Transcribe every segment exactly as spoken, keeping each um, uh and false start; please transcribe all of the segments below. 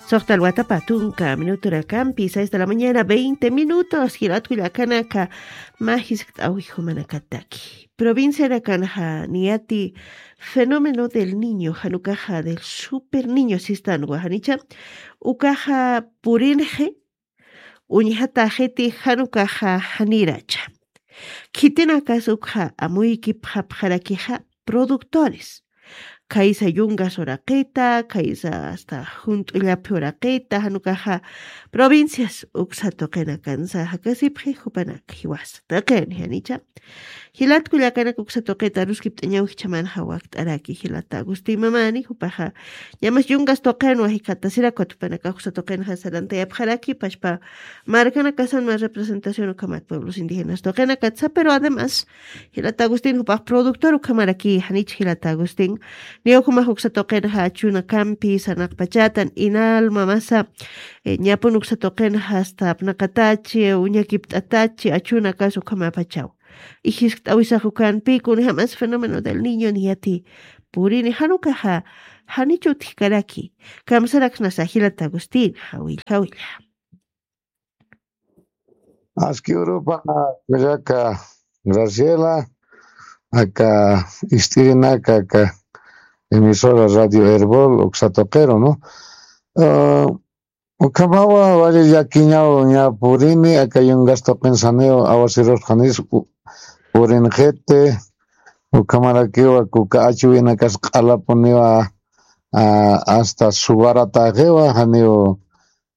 Soxtal watapa tunka minutorakampi, seis de la mañana, veinte minutos, jilat kullakanaka, mä jiskt'awi jumanakataki. Provincianakanxa niyati fenómeno del niño, jan ukaxa del super niño sistanwa, janicha, ukaxa purinxi, uñjatäxiti jan ukaxa janiracha. Khitinakas ukxa amuykipxapxarakixa productores. Khaysa yungas uraqita, khaysa hasta junt'ullaphi uraqita, jan ukaxa provincias uksa tuqinakansa jakasipxi jupanak jiwasa. Taqin janicha. Jilat kullakanak uksa tuqita aruskipt'añaw jichhamanxa wakt'araki jilata Agustín Mamani, jupaxa ñamas yungas tuqinwa jikxatasirakwat jupanakax uksa tuqinxa sarantayapxaraki, pachpa markanakasanwa representación ukhamat pueblos indígenas tuqinakatsa, pero además jilata Agustín jupax productor ukhamaraki, janich jilata Agustín, niw jumax uksa tuqinxa achunakampi sarnaqpachatan, INALMA masa, eh, ñapun uksa tuqinxa hasta apnaqatachi, uñakipt'atachi, achunakas ukhamapachaw. Ijiskt'awisax ukanpi, kunjamas fenómeno del niño niyati purini, jan ukaxa, janicha utjkaraki, kamsaraksnasa jilata Agustín, jawilla, jawilla. Aski urupa kullaka Graciela, aka ist'irinaka, aka emisora Radio Erbol, uksa tuqiru, ¿no? Ah, ukhamawa wali llakiñaw ña purini, aka yungas tuqin janiw awasirus janis u-, purinxiti, ukhamarakiwa kuka achuwinakas q'alapuniwa, ah, hasta subarataxiwa, janiw,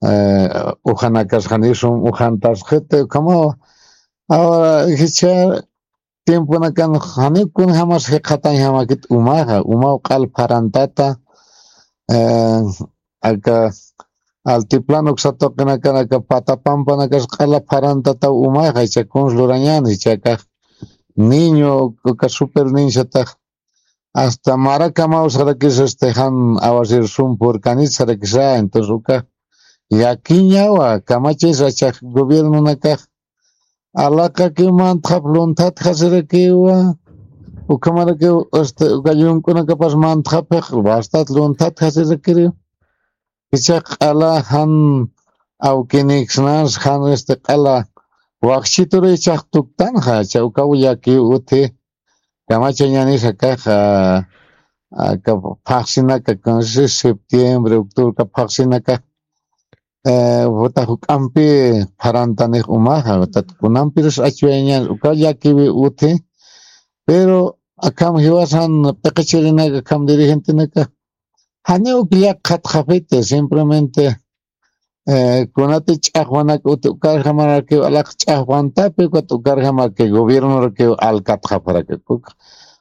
eh, ujanakas janiw sum ujantasxiti, ukhamawa. Ahora, jichha tiemponakan janiw kunjamas jikxatañjamakit umaxa, umaw q'al pharantata, eh, aka altiplano uksa tuqinakan aka pata pampanakas q'ala pharantataw umaxa, jichha kuns lurañäni, jichha akax niño, uka super niñosatax, hasta marakamaw sarakis, este, jan awasir sum purkanit sarakisa, entonces uka llakiñawa, kamachis achax gobiernonakax alaqakiw mantxap lunthatxasirakiwa, ukhamarakiw, este, uka llunk'unakapas mantxapix bastat lunthatxasirakiriw. Jichhax q'ala jan awkiniksnas, jan, este, q'ala wakchitur jichhax tuktanxa, jichha ukaw llakiw utji, kamachañänis akax, ah, aka phaxsinaka, entonces septiembre, octubre, aka phaxsinaka, eh, juta juk'ampi pharantanix umaxa, jutat kunampirus achuwayañänis, ukaw llakiwi utji, pero akham jiwasan p'iqichirinaka, akham dirigentenaka, janiw uk llakxatxapiti, simplemente, eh, kunati ch'axwanak uti ukarjamarakiw alaq ch'axwantapi, ukat ukarjamarakiw gobiernorakiw alkatxapxaraki. Uka,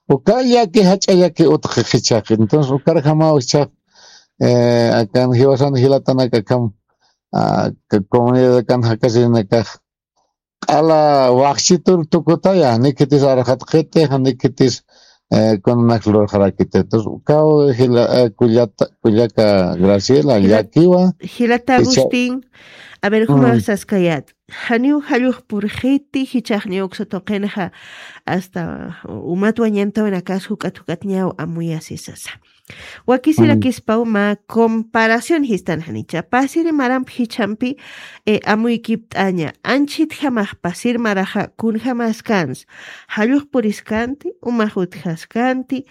uka llaki jach'a llaki utji jichhax. Entonces, ukarjamaw jichhax, eh, akan jiwasan jilatanaka akham, ah, ka-, comunidad akan jakasirinakax q'ala wakchitur tukutaya, janikitis arxatxiti, janikitis, eh, kunanak lurxarakiti. Entonces, ukaw jila, eh, kullata, kullaka Graciela, jila-, llakiwa. Jilata jichha-, Agustín, a ver, juma, mm, saskayät. Janiw jallux purxiti, jichhax niw uksa tuqinxa, hasta umat wañantawinakas juk'at juk'at ñaw amuyasi sasa. Wakisirakispaw mä comparación jistan janicha. Pasiri maramp jichhampi, eh, amuykipt'aña. Anchhitjamax pasir maraxa kunjamaskansa. Jallux puriskanti, umax utjaskanti.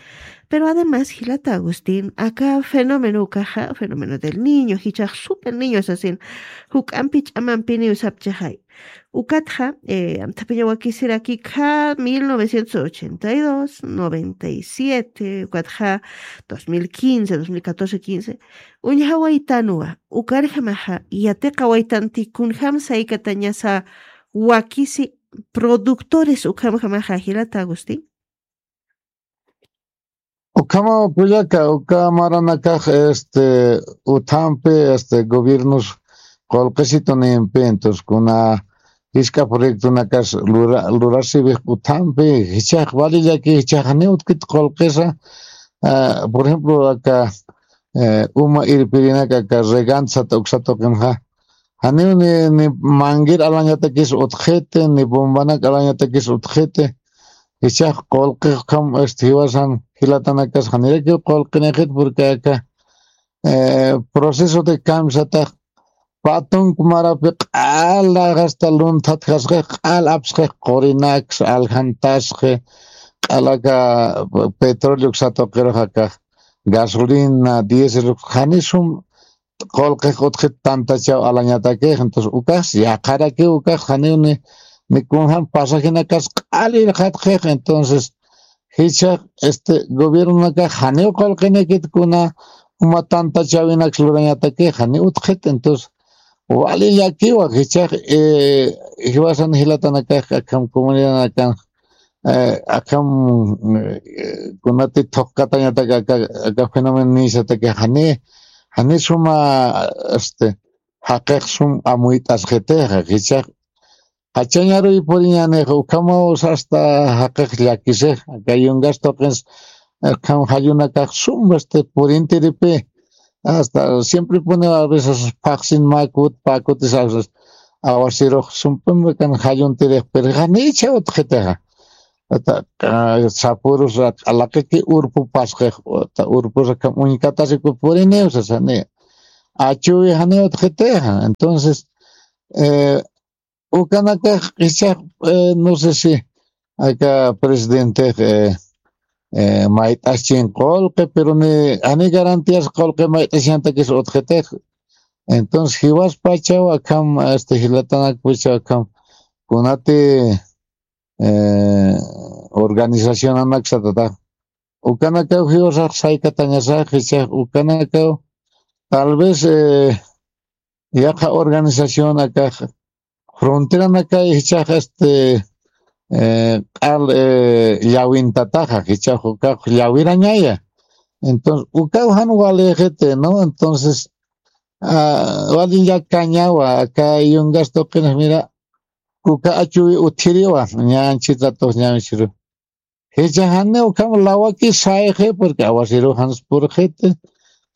Pero además, jilata Agustín, aka fenómeno ukaxa, fenómeno del niño, jichhax super niño sasin, juk'ampi ch'amampiniw sapchaxay. Ukatxa, eh, amthapiña wakisiraki kha mil novecientos ochenta y dos, noventa y siete, ukatxa dos mil quince, dos mil catorce, quince, uñjawaytanwa, ukarjamaxa, yatiqawaytanti kunjam saykatañasa wakisi productores ukhamjamaxa jilata Agustín. Ukhama kullaka, uka maranakax, este, uthampi, este, gobiernos qullqisitunimpi, entonces, kuna jisk'a proyectonakas lura-, lurasipix uthampi, jichhax valillaki, jichhax janiw utkit qullqisa, ah, por ejemplo, aka, eh, uma irpirinaka, aka regant sat uksa tuqinxa, janiw ni, ni manguera alañatakis utjxiti, ni bombanak alañatakis utjxiti, jichhax qullqix ukham, este, jiwasan jilatanakas janirakiw qullqinixit, porque aka, eh, proceso de kamsatax, patunk marapi q'ala hasta lunthat jasqix, q'al apsqix, qurinaks, aljantasqi, q'alaka petróleo satuqirux akax, gasolina, diésel, janisum qullqix utjit tantachaw alañatakix, entonces ukax yaqharakiw, ukax janiw ni, ni kunjam pasajinakas q'al irqatqix, entonces jichhax, este, gobiernonakax janiw qullqinakit kuna uma tantachawinak lurañatakix, janiw utjit, entonces wali llakiwa, jichhax, eh, jiwasan jilatanakax, akham comunidadanakan, eh, akham, eh, kunati thuqkatañatak aka, aka fenómeno nisataki jani, jani suma, este, jaqix sum amuyt'asqitixa, jichhax, jachañaruy puriñanix, ukhamaw hasta jaqix llakisix, aka yungas tuqins, akham jallunakax sum, este, purintiripi, hasta siempre pone a veces phaxsin makut, pakutis a veces awasirux sumpim kan jalluntirix, pero janicha utjitixa. Ata, ah, sapurus rak-, alaqiki urpu pasqix, ata urpus akham uñkatasiku puriniw sasani. Achuwi jani utjitixa. Entonces, eh, ukanakax jichhax, eh, no sé si aka presidente, eh, eh, mayt'aschin qullqi, pero ni, ani garantías qullqi mayt'achiñatakis utjitix. Entonces, jiwaspachaw akham, este, jilatanakpachaw akham, kunati, eh, organizacionanak satata. Ukanakaw jiwasax saykatañasax, jichhax ukanakaw, tal vez, eh, yaqha organización akax, fronteranakay jichhax, este, eh, q'al, eh, llawintataxa, jichhax ukax llawirañaya. Entonces, ukaw jan walixiti, ¿no? Entonces, ah, wali llakañawa, aka yungas tuqinx, mira, uka achuwi utjiriwa, ña anchit ratux ña anchiru. Jichhax jani ukham lawaki sayxi, porque awasiru jans purxiti,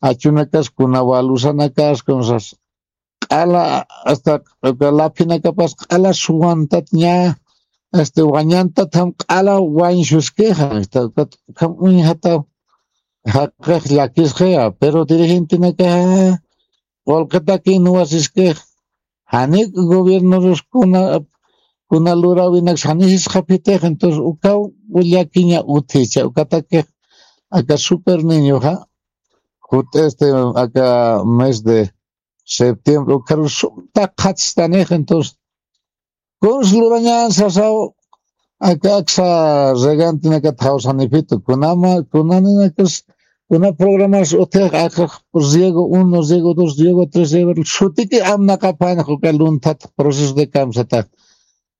achunakas kuna walusanakas, kunsas q'ala, hasta uka laphinakapas q'ala suwantat ña, este, wañantat jam q'ala wañsuskixa, hasta ukat ukham uñjataw jaqix llakisqixa, pero dirigentenakaxa qullqitaki nuwasiskix, jani gobiernorus kuna, kuna luräwinaks jani sisxapitix, entonces ukaw llakiña utjicha, ukatakix aka Super Niñoxa, jut, este, aka mes de septiembre, ukarus sumta qhatstanix, entonces, kuns lurañan sasaw, aka aksa regantinakat jawsanipitu, kunama, kunaninakas, kuna programas utjix, aka riego uno, riego dos, riego tres, riego, sutiki amnaqapanax uka lunthat proceso de kamsata.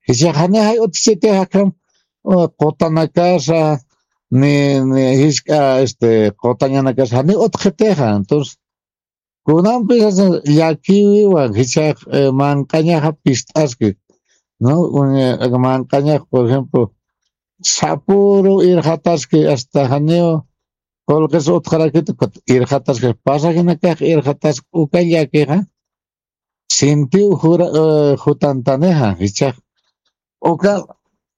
Jichhax jani jay utjchitix akham, uh, qutanakasa, ni, ni jisk'a, este, qutañanakasa, jani utjitixa. Entonces, kunampis llakiwiwa, jichhax, eh, manq'añaxa pist'aski, ¿no? Uña, manq'añax, por ejemplo, sapuru irxataski, hasta janiw qullqis utjarakiti, irxataski, pasajinakax irxataski, uka llakixa, sintiw jura, eh, jutantanixa, jichhax. Uka,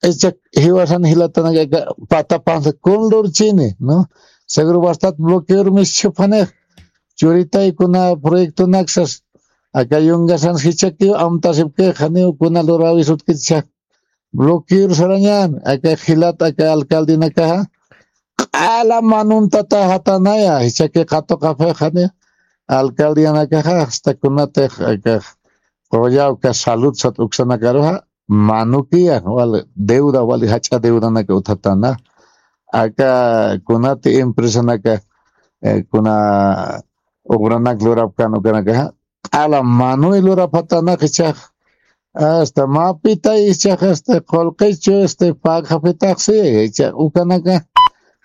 jichhax jiwasan jilatanaka, patapansa kun lurchini, ¿no? Seguro bastat bloqueor mis chuphanix. Churitay kuna proyectonaksas, aka yungasan jichhakiw amtasipkix, janiw kuna luräwis utjkiti jichhax. Bloqueor sarañan, aka jilat, aka alcaldenakaxa. Q'ala manuntata jatanaya, jichhaki qatuqapxix, jani alcaldenakaxa, hasta kunatix, aka qullawka salud sat uksanakaruxa, manukiya, wali deuda, wali jach'a deudanaka utjatana. Aka kunati empresanaka, eh, kuna obranak lurapkan ukanakaxa, q'ala manuy lurapxatana jichhax, hasta mapitay jichhax, este, qullqichu, este, pagxapitaxsi, jichhax ukanaka,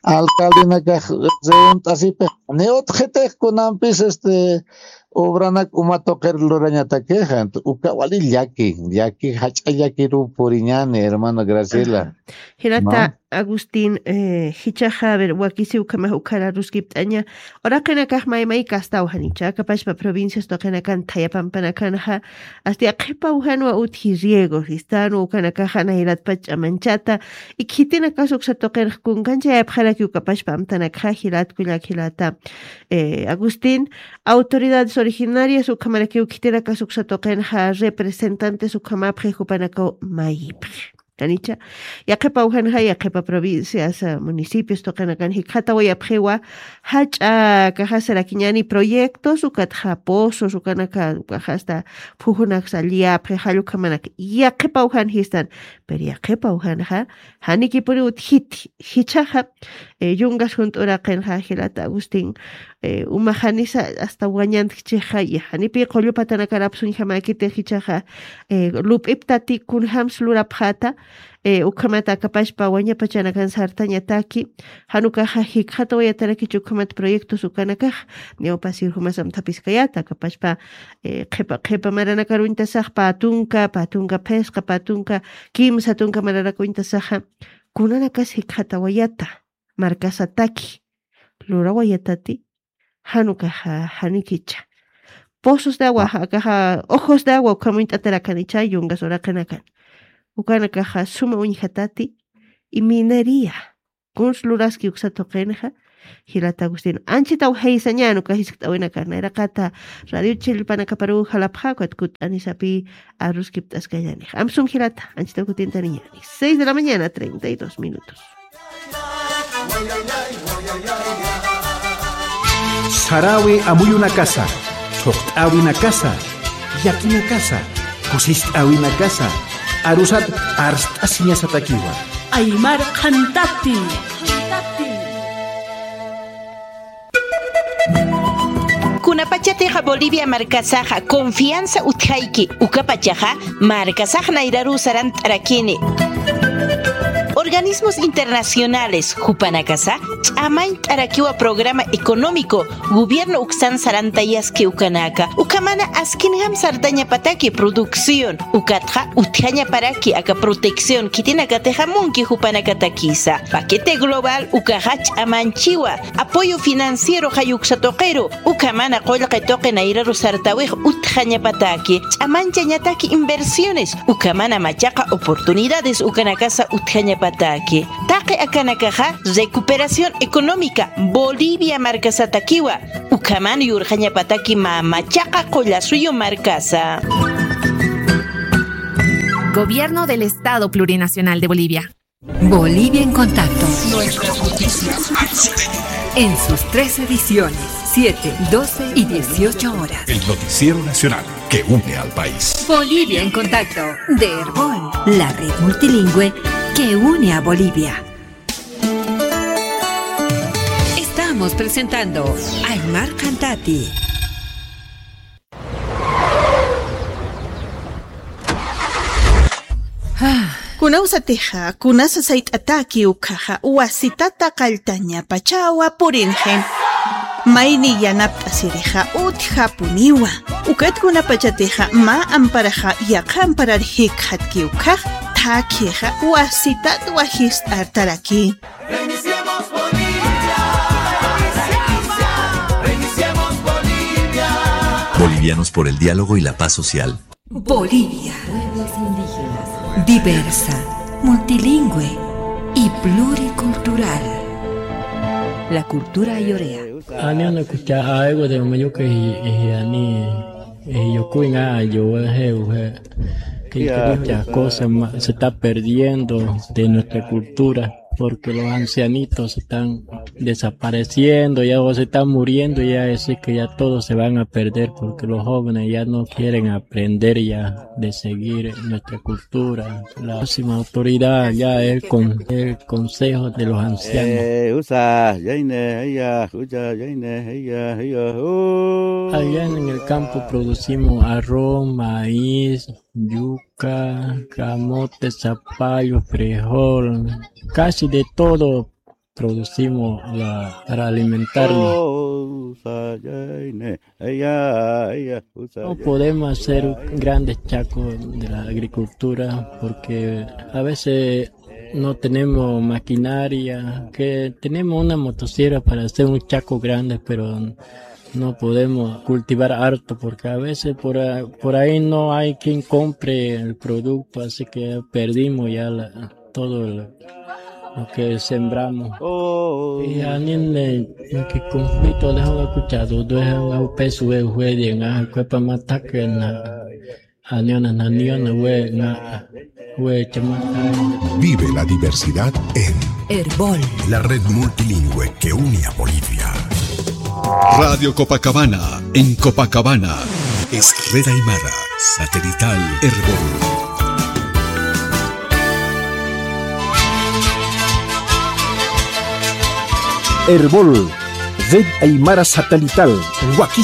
alcaldenakax reunt'asipix, ni utjitix kunampis, este, obranak uma tuqir lurañatakixa, uka wali llaki, llaki, jach'a llakiruw puriñani, hermano Graciela. Jilata Agustín, eh, jichhaxa, a ver, wakisi ukhamax ukhar aruskipt'aña, uraqinakax may may kastaw janicha, akapachpa provincias tuqinakan thaya pampanakanxa, asti yaqhipaw janwa utji riego, sistan ukanakaxa nayratpach ch'amanchata, y khitinakas uksa tuqinx kunkanchayapxaraki ukapachpa amtanakxa, jilat kullak jilata, eh, Agustín, autoridades originarias ukhamarakiw khitinakas uksa tuqinxa, representantes ukhamapxi jupanakaw mayipxi. Janicha, yaqhipa ujanxa, yaqhipa provincias, ah, municipios tuqinakan jikxatawayapxiwa, jach'a kaxasarakiñani proyectos, ukatxa pozos, ukanaka, ukaxa hasta phujunak salliyapxi, jall ukhamanak, yaqhipa ujan jistan, pero yaqhipa ujanxa, janikipuni utjiti, jichhaxa, eh, yungas junt'uraqinxa, jilata Agustín, eh, umax janisa hasta wañantkichixa, y janipi qullu patanakarapsuñjamäkiti jichhaxa, eh, lup'iptati kunjams lurapxäta, eh, ukhamat akapachpa wañapachanakan sartañataki, jan ukaxa jikxatawayataraki ukhamat proyectos ukanakax, ñawpasir jumas amthapiskayäta, akapachpa, eh, qhipa, qhipa maranakar uñtasax pä tunka, pä tunka phisqa, pä tunka kimsa tunka maranak uñtasaxa, kunanakas jikxatawayata, markasataki, lurawayatati, jan ukaxa, janikicha. Pozos de agua, akaxa, ojos de agua, ukham uñt'atarakanicha, yungas uraqinakan. Ukanakaxa, suma uñjatati, y minería. Kuns luraski uksa tuqinxa, jilata Agustín. Anchhitaw jaysañän uka jiskt'awinakan, nayraqata Radio Chilpanakaparuw jalapxä, ukat kutt'anisapï aruskipt'askañänix. Amsum jilata, anchhitaw kutintaniñäni. Seis de la mañana, treinta y dos minutos. Saräwi amuyunakasa, thuqt'äwinakasa, llakinakasa, kusist'äwinakasa, arusat arst'asiñasatakiwa. Aymar qhantati. Kunapachatixa Bolivia markasaxa confianza utjayki, ukapachaxa markasax nayraruw sarant'arakini. Organismos internacionales jupanakasa ch'amañt'arakiwa programa económico gobierno uksan sarantayaski ukanaka, ukhamana askinjam sartañapataki producción, ukatxa utjañaparaki aka protección khitinakatixa munki jupanakatakisa. Paquete global ukaxa ch'amanchiwa, apoyo financiero jay uksa tuqiru, ukhamana qullqi tuqi nayraru sartawix utjañapataki, ch'amanchañataki inversiones, ukhamana machaqa oportunidades ukanakasa utjañapataki. Taqi akanakaxa recuperación económica Bolivia markasatakiwa, ukhaman yurxañapataki mä machaqa qullasuyu markasa. Gobierno del Estado Plurinacional de Bolivia. Bolivia en contacto. Nuestras noticias. En sus tres ediciones, siete, doce y dieciocho horas. El noticiero nacional que une al país. Bolivia en contacto, de Erbol, la red multilingüe que une a Bolivia. Estamos presentando Aymar Cantati. Kunawsatixa, kunasa sayt'ataki ukhaxa, wasitata qalltañapachawa purinxi. Mayni yanapt'asirixa utjapuniwa. Ukat kunapachatixa mä amparaxa yaqha amparar jikxatki ukhax, thakhixa wasitat wajist'artaraki. Reiniciemos Bolivia. Reiniciemos Bolivia. Bolivianos por el diálogo y la paz social. Bolivia. Pueblos indígenas. Diversa, multilingüe y pluricultural. La cultura ayorea. Ani una kucha aiwa de mayuka y, y ani, y yo kuinga yo he, he, que muchas cosas ma-, se está perdiendo de nuestra cultura. Porque los ancianitos están desapareciendo ya o se están muriendo ya, así que ya todos se van a perder porque los jóvenes ya no quieren aprender ya de seguir nuestra cultura. La máxima autoridad ya es con el Consejo de los Ancianos. Eh, usa, yaine, ella, usa, yaine, ella, ella, uh. Allá en el campo producimos arroz, maíz, yuca, camote, zapallo, frijol, casi de todo producimos la, para alimentarnos. No podemos hacer grandes chacos de la agricultura porque a veces no tenemos maquinaria, que tenemos una motosierra para hacer un chaco grande, pero no podemos cultivar harto porque a veces por, a- por ahí no hay quien compre el producto, así que perdimos ya la- todo lo, lo que sembramos. Y anin de que conflicto de la escuchado, de la peso de juegue, en la cuepa mataque, en la Aniona, aniona, we, na, we, chama. Vive la diversidad en Erbol, la red multilingüe que une a Bolivia. Radio Copacabana, en Copacabana. Es Red Aymara, satelital Erbol. Erbol, Red Aymara Satelital, wakichäwinix.